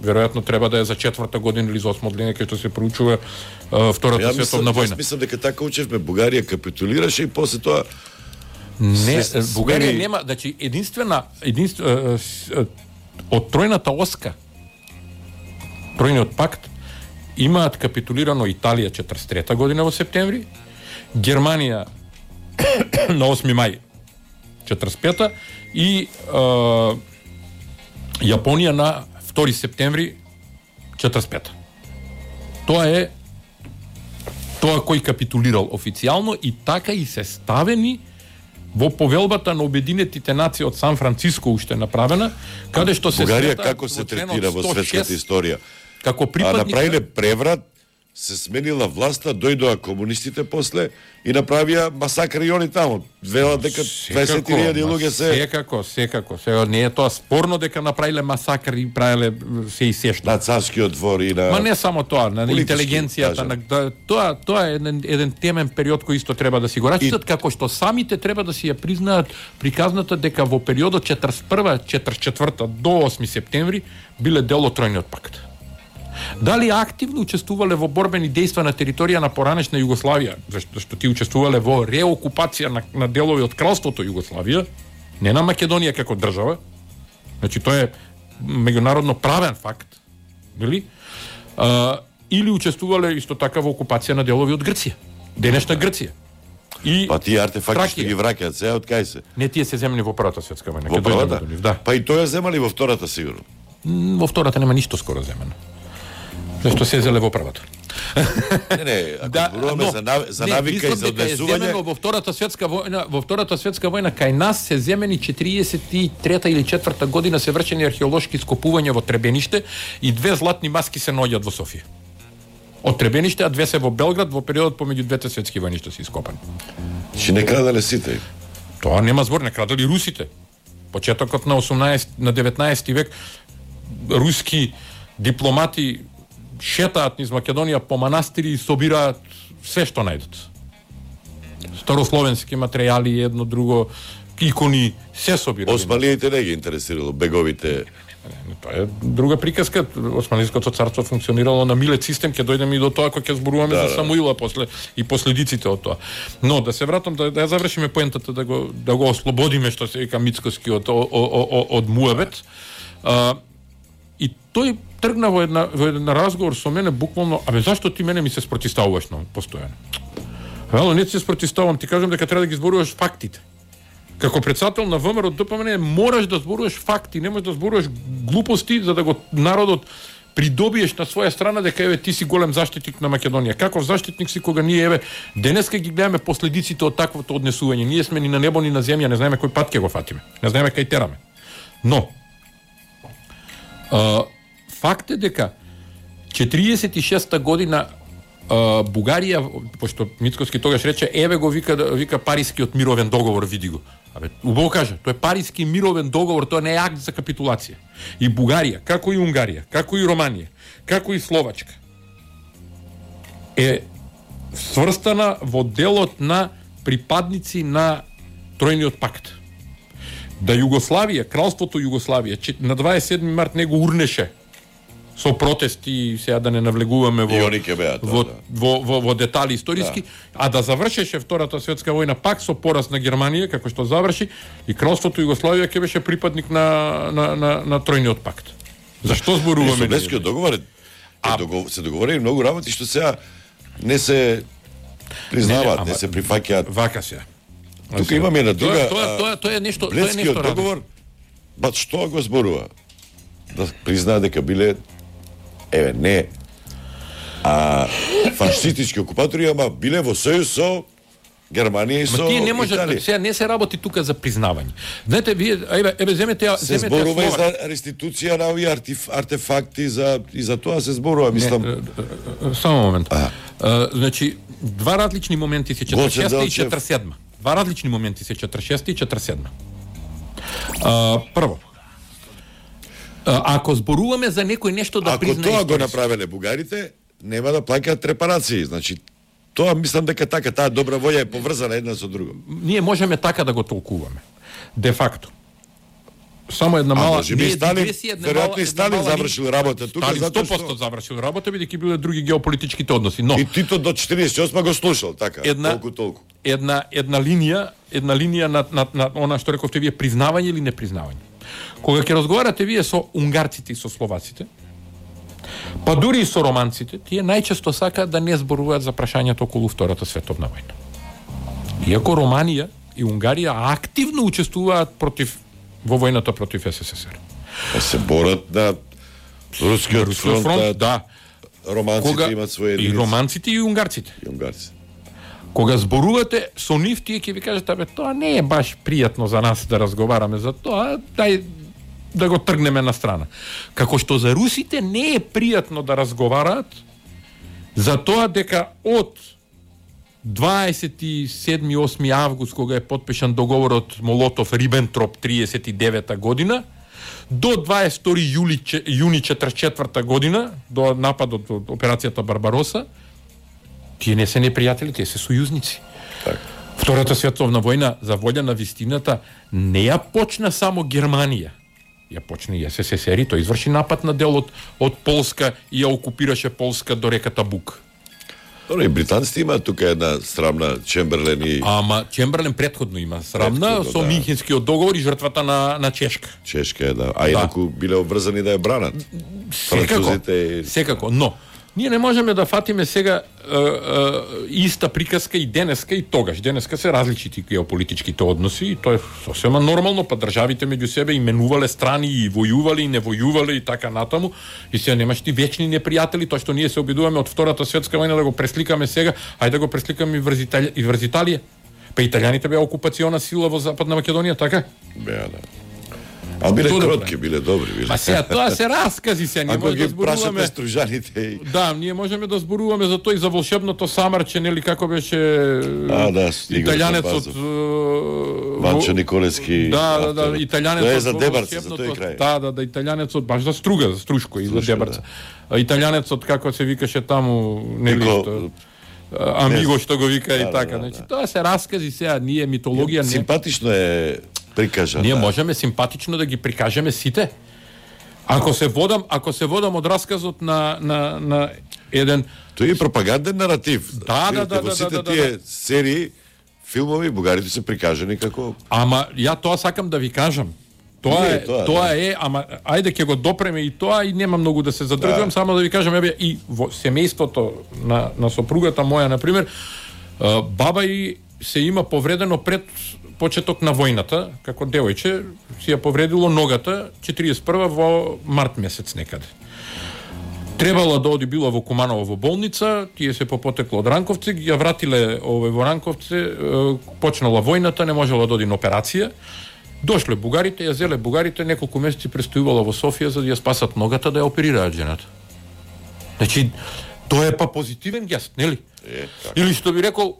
Веројатно треба да е за четврта година или за осма година кај што се проучува uh, Втората Ја световна војна. Јас мислам дека така учевме, Бугарија капитулираше и после тоа Не, се, Бугарија смени... нема, значи единствена, единствена од тројната оска, тројниот пакт, имаат капитулирано Италија четридесет и трета година во септември, Германија на осми мај четридесет и пета и е, Јапонија на втори септември четридесет и пета. Тоа е тоа кој капитулирал официјално и така и се ставени во повелбата на Обединетите нации од Сан Франциско уште направена, каде што се Бугарија смета како се во членот третира во сто шест светската историја? како А припадник направиле преврат, се сменила власта, дојдоа комунистите после и направија масакри и они таму. Велат дека дваесет илјади луѓе се... Секако, секако. Сега не е тоа спорно дека направиле масакри и правиле се и се што. На царскиот двор и на... Ма не само тоа, на интелигенцијата, на, да, тоа, тоа е еден, еден темен период кој исто треба да си го рачитат, и... како што самите треба да си ја признаат приказната дека во периодот четридесет и прва четридесет и четврта до осми септември биле дел од тројниот пакт. Дали активно учествувале во борбени дејства на територија на поранешна Југославија, зашто, зашто ти учествувале во реокупација на, на делови од кралството Југославија, не на Македонија како држава, значи тоа е меѓународно правен факт, нели? А, или учествувале исто така во окупација на делови од Грција, денешна Грција. И па тие артефакти Тракија. што ги враќаат сега од кај се? Не, тие се земени во Првата светска војна. Во Ќе дојдеме првата? до нив, да. Па и тоа земали во втората сигурно. М, Во втората нема ништо скоро земено. Зашто се зеле во првата. Не, не, ако да, зборуваме за, нав... за не, навика и за дека е земено однесување... во втората светска војна, во втората светска војна кај нас се земени четиридесет и трета или четврта година се вршени археолошки скопувања во Требениште и две златни маски се наоѓаат во Софија. Од Требениште, а две се во Белград во периодот помеѓу двете светски војни што се ископани. Че не крадале сите. Тоа нема збор, не крадали русите. Почетокот на осумнаесети на деветнаесети век руски дипломати шетаат низ Македонија по манастири и собираат се што најдат. Старословенски материјали, едно друго, икони, се собираат. Османлиите не ги интересирало беговите. Тоа е друга приказка. Османлиското царство функционирало на милет систем, ќе дојдеме и до тоа кога ќе зборуваме да, за Самуила после и последиците од тоа. Но да се вратам да, да ја завршиме поентата, да го да го ослободиме што се вика Мицкоски од од муабет. А, и тој тргна во една во еден разговор со мене буквално, абе зашто ти мене ми се спротивставуваш на постојано? Ало, не се спротивставувам, ти кажам дека треба да ги зборуваш фактите. Како председател на ВМРО ДПМН мораш да зборуваш факти, не можеш да зборуваш глупости за да го народот придобиеш на своја страна дека еве ти си голем заштитник на Македонија. Каков заштитник си кога ние еве денеска ги гледаме последиците од таквото однесување. Ние сме ни на небо ни на земја, не знаеме кој пат ќе го фатиме. Не знаеме кај тераме. Но а, факт е дека четириесет и шеста година а, Бугарија, пошто Мицкоски тогаш рече, еве го вика вика Парискиот мировен договор, види го. Абе, убаво кажа, тоа е Париски мировен договор, тоа не е акт за капитулација. И Бугарија, како и Унгарија, како и Романија, како и Словачка, е сврстана во делот на припадници на Тројниот пакт. Да Југославија, кралството Југославија, на дваесет и седми март него урнеше со протести, сега да не навлегуваме во беа, во, да. во, во, во детали историски, да. А да завршеше Втората светска војна пак со пораз на Германија, како што заврши, и кралството Југославија ќе беше припадник на, на, на, на Тројниот пакт. Зашто зборуваме? Собескиот договор а... догов... се договорени многу работи што сега не се признаваат, не, не, не се прифаќаат. Вака се. Тука имаме една друга. Тоа, тоа, тоа е нешто, тоа е нешто договор. Ба што го зборува? Да признаа дека биле еве не а фашистички окупатори, ама биле во сојуз со Германија и со Италија. Тие не може, сега не се работи тука за признавање. Знаете, вие еве еве земете земете се зборува и за реституција на овие артефакти за и за тоа се зборува, мислам. Не, само момент. А. А, значи два различни моменти се четиридесет и шеста и четиридесет и седма. Два различни моменти се четиридесет и шеста и четиридесет и седма. А, прво, ако зборуваме за некој нешто да ако признае, тоа го направеле бугарите, нема да плаќаат репарации. Значи, тоа мислам дека така, таа добра волја е поврзана една со друга. Ние можеме така да го толкуваме. Де факто. Само една мала... А може би Сталин, веројатно и Сталин завршил работа тука, Сталин затоа сто проценти што... завршил работа, бидејќи биле други геополитичките односи. Но и Тито до четириесет и осма го слушал, така, една, толку толку. Една една линија, една линија на на, на она што рековте вие, признавање или непризнавање. Кога ќе разговарате вие со унгарците и со словаците, па дури и со романците, тие најчесто сакаат да не зборуваат за прашањето околу Втората световна војна. Иако Романија и Унгарија активно учествуваат против во војната против СССР. А се борат на рускиот фронт, фронт, да. Романците Кога, имат своје и романците и унгарците. И унгарците. Кога зборувате со нив, тие ќе ви кажат, абе, тоа не е баш пријатно за нас да разговараме за тоа, дај да го тргнеме на страна. Како што за русите не е пријатно да разговараат за тоа дека од дваесет и седми осми август, кога е потпишан договорот Молотов-Рибентроп триесет и девета година, до дваесет и втори јули јуни четридесет и четврта година, до нападот од операцијата Барбароса, тие не се непријатели, тие се сојузници. Так. Втората световна војна, за волја на вистината, не ја почна само Германија. Ја почна и СССР, тој изврши напад на дел од, од Полска и ја окупираше Полска до реката Буг. Добро, и британците имаат тука една срамна Чемберлен и... Ама Чемберлен предходно има срамна предходно, со да. Минхенскиот договор и жртвата на, на Чешка. Чешка е, да. А инаку да. биле обврзани да ја бранат. Секако, и... секако, но ние не можеме да фатиме сега е, е, иста приказка и денеска и тогаш. Денеска се различити геополитичките односи и тоа е сосема нормално, па државите меѓу себе именувале страни и војувале и не војувале и така натаму. И сега немаш ти вечни непријатели, тоа што ние се обидуваме од Втората светска војна да го пресликаме сега, ајде да го пресликаме и врз Италија, и врз Италија. Па италијаните беа окупациона сила во Западна Македонија, така? Беа, да. А биле кротки, биле добри, биле. Па сега тоа се раскази се, ние можеме да зборуваме. Ако ги стружаните и... Да, ние можеме да зборуваме за тоа и за волшебното самарче, нели како беше а, да, италијанецот Ванчо Николески. Да, да, да, италијанецот. Тоа е за Дебарца, за тој крај. Да, да, да, италијанецот баш за Струга, за Струшко и за Дебарца. Да. Италијанецот како се викаше таму, нели што Амиго што го вика и така, значи тоа се раскази сега, ние митологија не. Симпатично е прикажа. Ние да. можеме симпатично да ги прикажеме сите. Ако се водам, ако се водам од расказот на на на еден тој е пропаганден наратив. Да, да, да, во да, сите да, да, тие да. серии, филмови, бугарите се прикажани како... Ама ја тоа сакам да ви кажам. Тоа е, тоа, тоа да. е, ама ајде ќе го допреме и тоа и нема многу да се задржам, да. Само да ви кажам, еве и во семејството на на сопругата моја на пример, баба и се има повредено пред почеток на војната, како девојче, си ја повредило ногата четириесет и прва во март месец некаде. Требало да оди било во Куманово во болница, тие се попотекло од Ранковци, ги ја вратиле овој во Ранковци, почнала војната, не можела да оди на операција. Дошле бугарите, ја зеле бугарите, неколку месеци престојувала во Софија за да ја спасат ногата да ја оперираат жената. Значи, тоа е па позитивен гест, нели? Е, Или што би рекол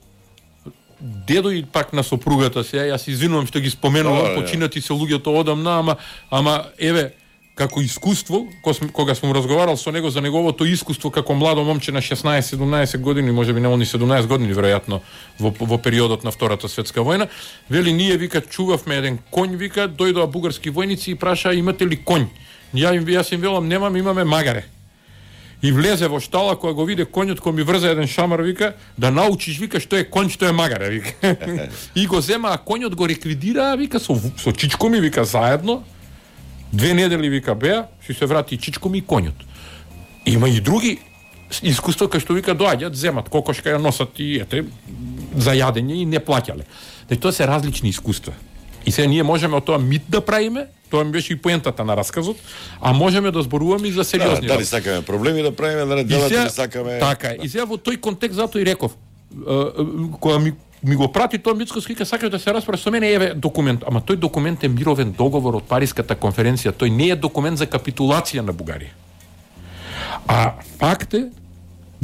дедо и пак на сопругата се, јас извинувам што ги споменувам, починати се луѓето одамна, ама ама еве како искуство, кога сум разговарал со него за неговото искуство како младо момче на шеснаесет седумнаесет години, можеби не они седумнаесет години веројатно во во периодот на Втората светска војна, вели ние вика чувавме еден коњ, вика дојдоа бугарски војници и прашаа имате ли коњ? Ја им јас им велам немам, имаме магаре. И влезе во штала, кога го виде коњот, кој ми врза еден шамар, вика, да научиш, вика, што е коњ, што е магаре, вика. И го зема, а коњот го реквидираа, вика, со, со чичко ми, вика, заедно. Две недели, вика, беа, си се врати и чичко ми и коњот. Има и други искуства, кај што, вика, доаѓаат, земат кокошка, ја носат и, ете, за јадење и не плаќале. Значи, тоа се различни искуства. И сега ние можеме од тоа мит да правиме, тоа ми беше и поентата на расказот, а можеме да зборуваме и за сериозни. Да, дали сакаме проблеми да правиме, да не делат, да сакаме. Така е. И сега во тој контекст затоа и реков, кога ми ми го прати тоа Мицкоски, ка сакаш да се расправи со мене, еве документ. Ама тој документ е мировен договор од Париската конференција, тој не е документ за капитулација на Бугарија. А факт е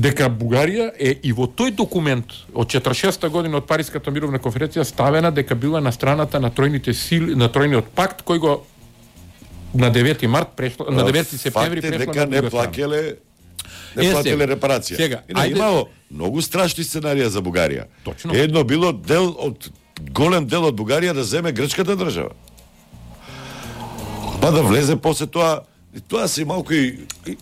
дека Бугарија е и во тој документ од четиридесет и шеста година од Париската мировна конференција ставена дека била на страната на тројните сили, на тројниот пакт кој го на девети март прешло, на девети септември прешло дека не плакеле не е, платиле сега, репарација. Сега, и не, ајде, имало многу страшни сценарија за Бугарија. Точно. Едно било дел од голем дел од Бугарија да земе грчката држава. Па да влезе после тоа. И тоа се малку и, и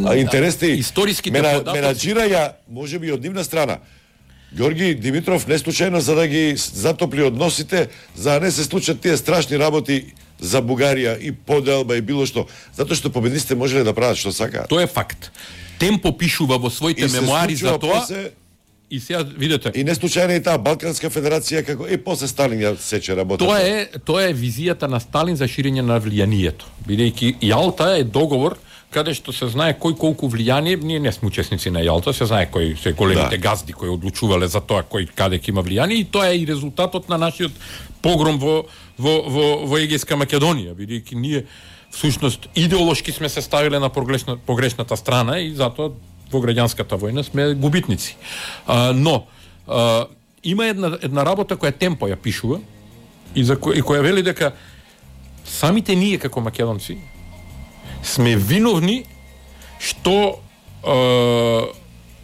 а интересни историските мена, податоци. менаџираја можеби од нивна страна. Георги Димитров не случајно за да ги затопли односите, за да не се случат тие страшни работи за Бугарија и поделба и било што, затоа што победниците можеле да прават што сакаат. Тоа е факт. Темпо пишува во своите мемуари за тоа. После... И сега видете. И не случајно и таа Балканска федерација како и после Сталин ја сече работата. Тоа е тоа е визијата на Сталин за ширење на влијанието. Бидејќи Јалта е договор каде што се знае кој колку влијание, ние не сме учесници на Јалта, се знае кои се големите да. газди кои одлучувале за тоа кој каде ќе има влијание и тоа е и резултатот на нашиот погром во во во, во Егејска Македонија, бидејќи ние всушност идеолошки сме се ставиле на погрешна, погрешната страна и затоа во граѓанската војна сме губитници. А, но а, има една една работа која Темпо ја пишува и за која, и која вели дека самите ние како македонци сме виновни што а,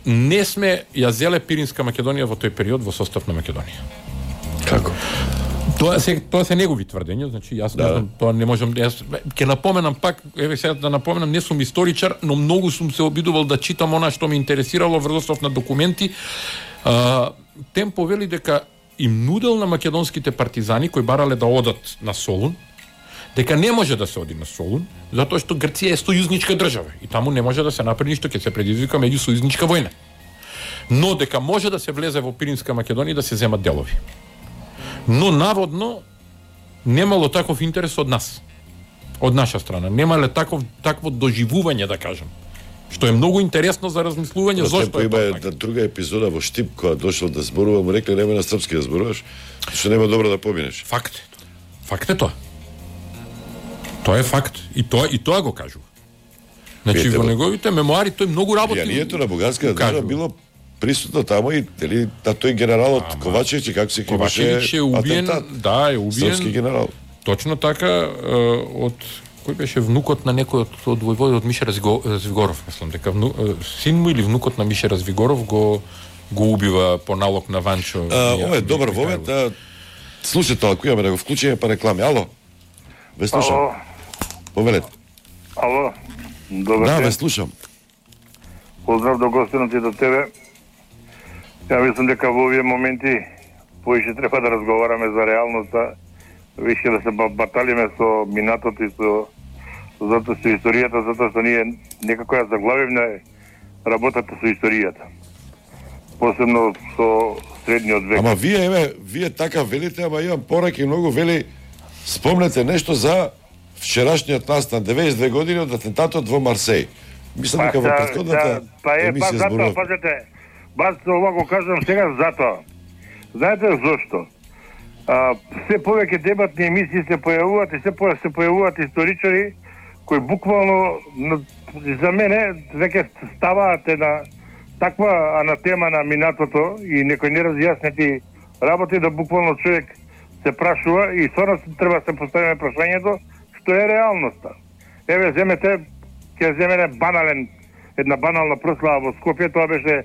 не сме ја зеле Пиринска Македонија во тој период во состав на Македонија. Како? Тоа се тоа се негови тврдења, значи јас да. не знам, тоа не можам јас ќе напоменам пак, еве сега да напоменам, не сум историчар, но многу сум се обидувал да читам она што ме интересирало врз основ на документи. А, Темпо вели дека им нудел на македонските партизани кои барале да одат на Солун, дека не може да се оди на Солун, затоа што Грција е сојузничка држава и таму не може да се направи ништо, ќе се предизвика меѓусојузничка војна. Но дека може да се влезе во Пиринска Македонија и да се земат делови. Но наводно немало таков интерес од нас. Од наша страна. Немале таков такво доживување, да кажам. Што е многу интересно за размислување зошто е тоа. Има друга епизода во Штип која дошол да зборува, му рекле нема на српски да зборуваш, што нема добро да поминеш. Факт е. Факт е тоа. Тоа е факт и тоа и тоа го кажува. Значи во неговите мемуари тој многу работи. Влијанието на бугарската држава било присутно тамо и дали та тој генералот Ама, Ковачевич како се Ковачевич е убиен, да, е убиен. Српски генерал. Точно така од кој беше внукот на некој од, од војводот Миша Развигоров, мислам дека вну, син му или внукот на Миша Развигоров го го убива по налог на Ванчо. А, ова е добар момент. Слушате, ако имаме да го вклучиме па реклами. Ало. Ве слушам. Ало. Повелете. Ало. Добар да, ден. ве слушам. Поздрав до гостинот и до тебе. Ја мислам дека во овие моменти поише треба да разговараме за реалноста, више да се баталиме со минатото и со затоа со историјата, затоа што ние некако ја заглавивме работата со историјата. Посебно со средниот век. Ама вие, еве, вие така велите, ама имам пораки многу вели, спомнете нешто за вчерашниот настан, деветдесет и две години од атентатот во Марсеј. Мислам дека во претходната па е, па емисија затоа, зборував. пазете, баш ова го кажам сега затоа. Знаете зошто? А, се повеќе дебатни емисии се појавуваат и се повеќе се појавуваат историчари кои буквално за мене веќе ставаат една таква анатема на минатото и некои неразјаснети работи да буквално човек се прашува и сорно треба да се поставиме прашањето што е реалноста. Еве земете, ќе земене банален, една банална прослава во Скопје, тоа беше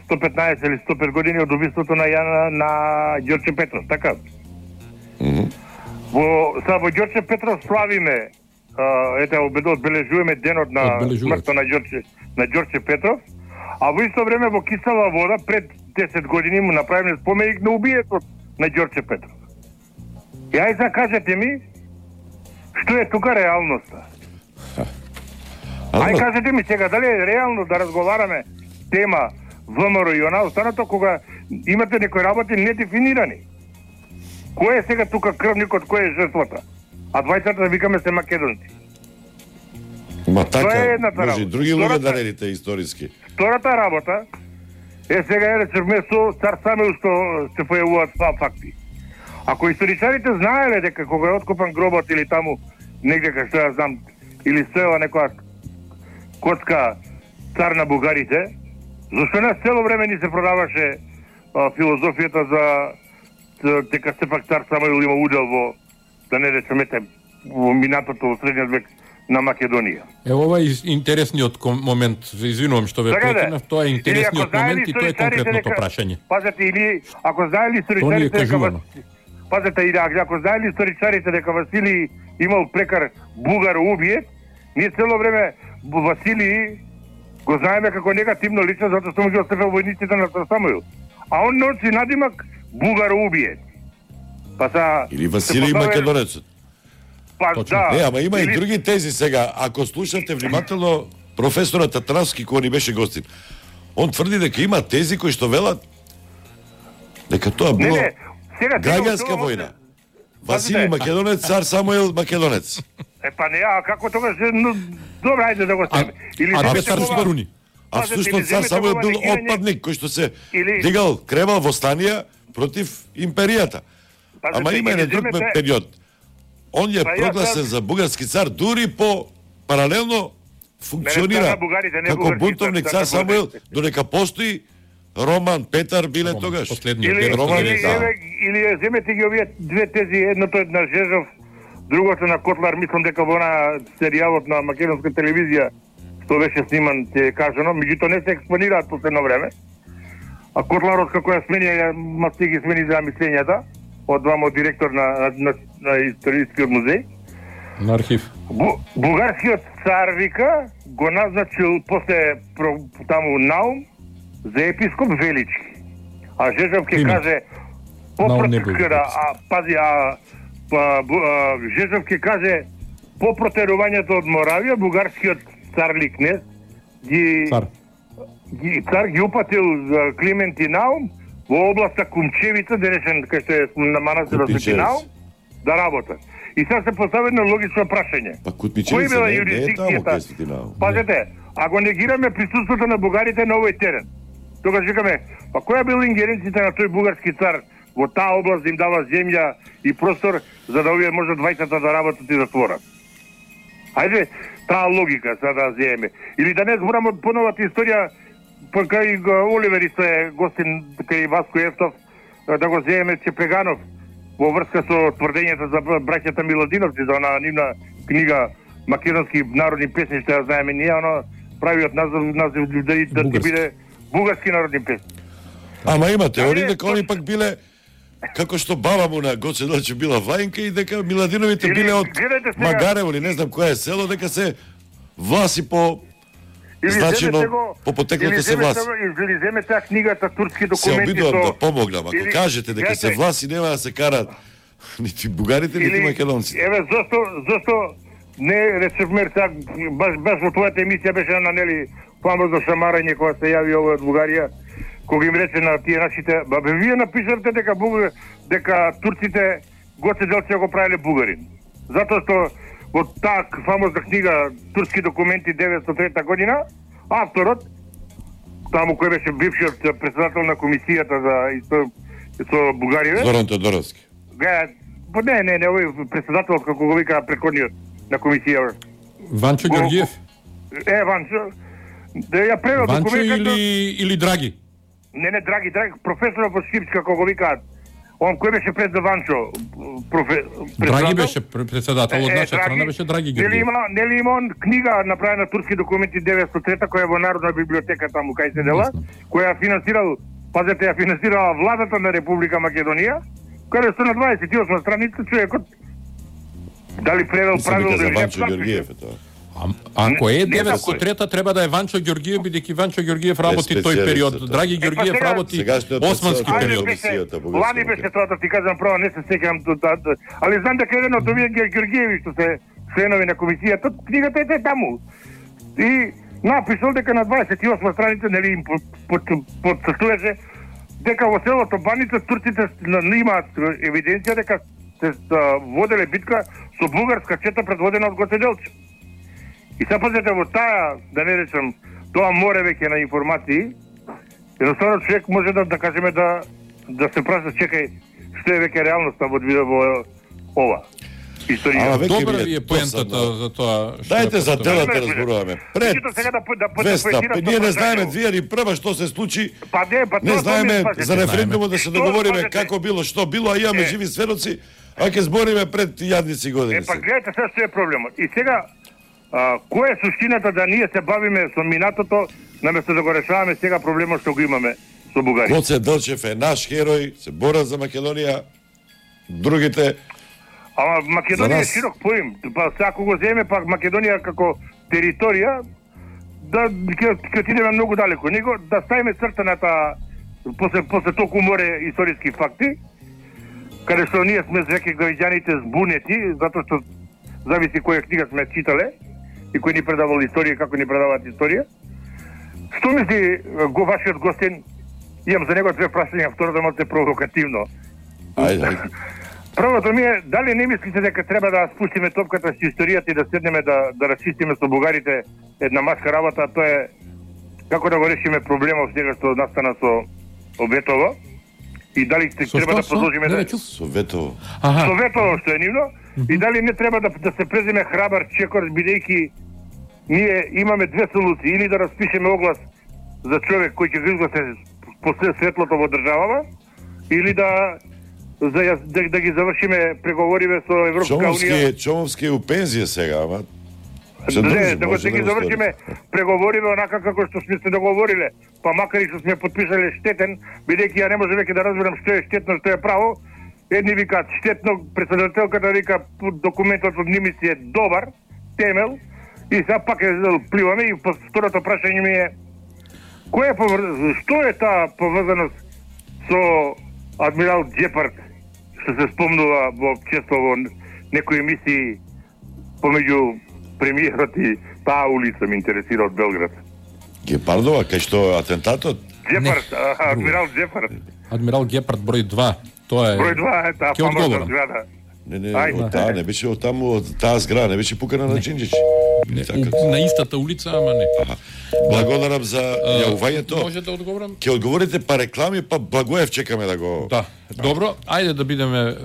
сто петнаесет или сто пет години од убиството на Јана на Ѓорче Петров, така? Mm-hmm. Во са во Ѓорче Петров славиме, а, ете одбележуваме денот на смртта на Ѓорче на Ѓорче Петров, а во исто време во Кисела вода пред десет години му направиме споменик на убиецот на Ѓорче Петров. И ај за кажете ми што е тука реалноста? Ај кажете ми сега дали е реално да разговараме тема ВМРО и она останато кога имате некои работи недефинирани. Кој е сега тука крвникот, кој е жртвата? А двајцата да викаме се македонци. Ма така, може работа. и други луѓе да редите историски. Втората работа е сега е речевме со цар Самуил што се појавуваат два факти. Ако историчарите знаеле дека кога е откопан гробот или таму негде кај што ја знам или стоела некоја коцка цар на бугарите, зашто не цело време ни се продаваше а, филозофијата за дека сепак цар Самуил има удел во, да не речемете, во минатото во средниот век на Македонија. Е, ова е интересниот ком- момент, извинувам што ве Така да. прекинав, тоа е интересниот момент и тоа е конкретното дека- прашање. Пазете, или ако знаели Тоа ни е историчарите дека кажувано. Пазете, или ако знаели историчарите дека Василий имал прекар бугар убиец, ние цело време Василий го знаеме како негативно лично затоа што му ги оставил војниците на цар Самуил. А он носи надимак бугар убиец. Па са Или Василий Македонецот. Па да. Не, ама има или... и други тези сега. Ако слушате внимателно професорот Татравски кој ни беше гостин, он тврди дека има тези кои што велат дека тоа било не, не. Сега, граѓанска тоа- војна. Василий Македонец, цар Самуил Македонец. Е, па не, а како тогаш, ну, добро, ајде да го ставиме. Или А земете Петар ова- Скоруни. А Пазете, всушност или цар земете Самуил ова бил негирање- отпадник кој што се Или- дигал, кревал востанија против империјата. Пазете, Ама има или еден друг земете- период. Он е Па ја прогласен сад- за бугарски цар, дури по паралелно функционира цар на бугарите, не како бугарски бунтовник цар, цар цар на Самуил, бугарите. додека постои Роман Петар биле тогаш. Последниот Или, Роман или, е, да. еве, или ја земете ги овие две тези, едното е на Жежов, другото на Котлар, мислам дека во на серијалот на македонска телевизија што беше сниман, ќе е кажано, меѓутоа не се експонираат последно време. А Котларот како ја смени, ја масти ги смени за мислењата од двамо директор на, на, на, на историскиот музеј. На архив. Бу, бугарскиот цар вика го назначил после про, таму Наум за епископ Велички. А Жежов ќе Име. каже Наум не бил попротекара, а пази, а, па, бу, а Жежов ќе каже по протерувањето од Моравија, бугарскиот царли кнез ги Цар. ги цар ги упатил за Климент и Наум во областа Кумчевица, денешен кај што е на манастирот Свети Кутмичевица. Наум, да работат. И сега се постави едно логично прашање. Па Кој Кутмичевица била не, не е таму юрисдикцијата? кај Свети Наум. Пазете, ако негираме присуството на бугарите на овој терен, тогаш викаме, па која била ингеренцијата на тој бугарски цар во таа област да им дава земја и простор за да овие може двајцата да работат и да творат? Ајде, таа логика сега да земеме. Или да не зборам од поновата историја, па кај го Оливер исто е гостин кај Васко Евтов, да го земеме Чепеганов во врска со тврдењата за браќата Миладиновци, за она нивна книга Македонски народни песни, што ја знаеме ние, оно правиот назив, назив да, да ти биде бугарски народни песни. Ама има теории Ајде, дека они пак биле како што баба му на Гоце Делчев била Вајнка и дека Миладиновите Или, биле од гледайте сега- Магарево или не знам која е село, дека се власи по Или значено земете го- по потеклото или се земете власи. го- Или земете таа книгата турски Се документи обидувам со... да помогнам. Ако Или- кажете дека се гледате, власи, нема да се карат нити бугарите, нити македонците. Еве зошто зошто не речевме сега баш баш во твојата емисија беше на нели фамозно шамарање кога се јави овој од Бугарија, кога им рече на тие нашите, ба бе вие напишавте дека буга, дека турците Гоце Делчев го правиле бугарин. Затоа што во таа фамозна книга Турски документи деветстотина и трета година, авторот, таму кој беше бившиот председател на комисијата за исто со Бугариве. Зоран Тодоровски. Га, не, не, не, овој председателот како го вика предходниот на комисија. Ванчо Ѓорѓиев. Е, Ванчо. Да ја превел Ванчо документот. или или Драги? Не, не, Драги, Драги, професорот во Шипска како го викаат. Он кој беше пред за Ванчо? Профе... Драги беше председател од наша страна, беше Драги Нели Ѓорѓиев. има, нели има он книга направена Турски документи деветстотина и трета која е во Народна библиотека таму кај се дела, која ја финансирал, пазете, ја финансирала владата на Република Македонија, каде што на дваесет и осма страница човекот дали превел правил за да Ванчо Ѓорѓиев е тоа. Ако е Не, не деветстотина и трета треба да е Ванчо Ѓорѓиев, бидејќи Ванчо Ѓорѓиев работи тој период. Драги Ѓорѓиев сега- работи Сегашниот османски председател период. комисијата, Лани беше тоа, да ти кажам право, не се сеќавам до таа, али знам дека еден од овие Ѓорѓиеви што се членови на комисијата, книгата е таму. И напишал дека на дваесет и осма страница, нели им подцртуваше дека во селото Баница турците имаат евиденција дека се воделе битка со бугарска чета предводена од Гоце Делчев. И сега пазете во таа, да не речам, тоа море веќе на информации, едноставно човек може да, да кажеме да да се праша, чекај, што е веќе реалноста во во ова. Историја. Ама веќе Добра ми е ви е поентата досадно. за тоа. што Дајте е за поставено. телата разборуваме. Пред Чито сега да, да, да Веста, поетирам ние не што знаеме прашањето. две или прва што се случи. Па не, па Не тоа знаеме тоа ми е за референдумот да се Што договориме пазете? како било, што било, а имаме Е. живи сведоци, а ќе збориме пред јадници години. Е, па сега. гледате сега што е проблемот. И сега, а, која е суштината да ние се бавиме со минатото, наместо да го решаваме сега проблемот што го имаме со Бугарија? Гоце Делчев е наш херој, се бора за Македонија. Другите Ама За Македонија е нас. широк поим. Па сега ако го земе пак Македонија како територија, да ќе ќе отидеме многу далеко. Него да ставиме црта на таа после после толку море историски факти, каде што ние сме веќе граѓаните збунети, затоа што зависи која книга сме читале и кој ни предавал историја, како ни предаваат историја. Што мисли го вашиот гостин? Имам за него две прашања, второто малку провокативно. Ајде, ајде. Првото ми е, дали не мислите дека треба да спустиме топката со историјата и да седнеме да, да расчистиме со бугарите една маска работа, а тоа е како да го решиме проблемот сега што настана со Оветово и дали Со треба што, да со? продолжиме Не да... ве чув. Советово. Аха. Со Ветово што е нивно и дали не треба да, да се преземе храбар чекор, бидејќи ние имаме две солуции, или да распишеме оглас за човек кој ќе го изгласе после светлото во државава, или да за ја- да, да ги завршиме преговориве со Европска унија. Чомовски, Чомовски е у пензија сега, ама се Не, држи, да го може да ги го завршиме преговориве онака како што сме се договориле, па макар и што сме подпишале штетен, бидејќи ја не може веќе да разберам што е штетно, што е право. Едни викаат штетно, председателката вика документот од ними си е добар, темел, и сега пак е пливаме и по второто прашање ми е кој е повр... што е таа поврзаност со адмирал Ѓепард, што се спомнува во често во некои емисии помеѓу премиерот и таа улица ме интересира од Белград. Гепардова, кај што атентатот? Ѓепард, а, адмирал Ѓепард. Адмирал Гепард број два. Тоа е. Број два е таа Ќе фамозна одговорам. зграда. Не, не, Ајде. од таа не беше од таму, од таа зграда, не беше пукана на Џинџич. Не, Така. у- на истата улица, ама не. Благодарам за јавувањето. Може да одговорам? Ќе одговорите па реклами, па Благоев чекаме да го... Да, добро, ајде да бидеме е, е,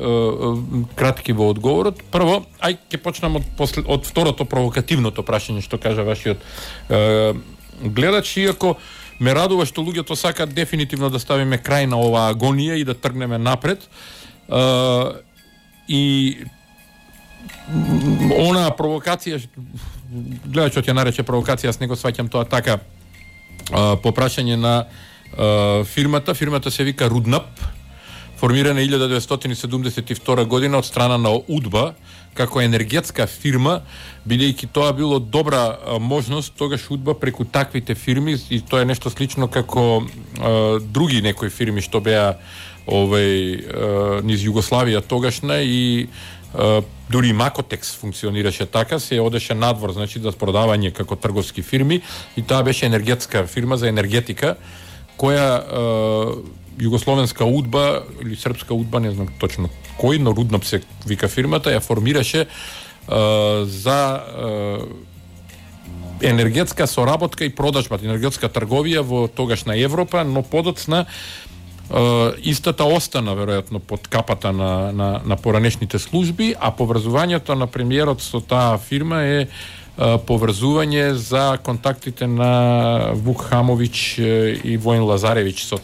кратки во одговорот. Прво, ај ќе почнам од после, од второто провокативното прашање што кажа вашиот е, гледач, иако ме радува што луѓето сакаат дефинитивно да ставиме крај на оваа агонија и да тргнеме напред. Е, и м, она провокација, гледачот ја нарече провокација, јас не го сваќам тоа така, а, по прашање на а, фирмата. Фирмата се вика Руднап, формирана илјада деветстотини седумдесет и втора година од страна на УДБА како енергетска фирма, бидејќи тоа било добра а, можност тогаш УДБА преку таквите фирми, и тоа е нешто слично како а, други некои фирми што беа овој а, низ Југославија тогашна, и а, дури и Макотекс функционираше така, се одеше надвор, значи за продавање како трговски фирми, и таа беше енергетска фирма за енергетика, која југословенска удба или српска удба, не знам точно кој, но Рудноп се вика фирмата, ја формираше за енергетска соработка и продажба, енергетска трговија во тогашна Европа, но подоцна истата остана веројатно под капата на, на, на поранешните служби, а поврзувањето на премиерот со таа фирма е поврзување за контактите на Вук Хамовиќ и Воин Лазаревиќ со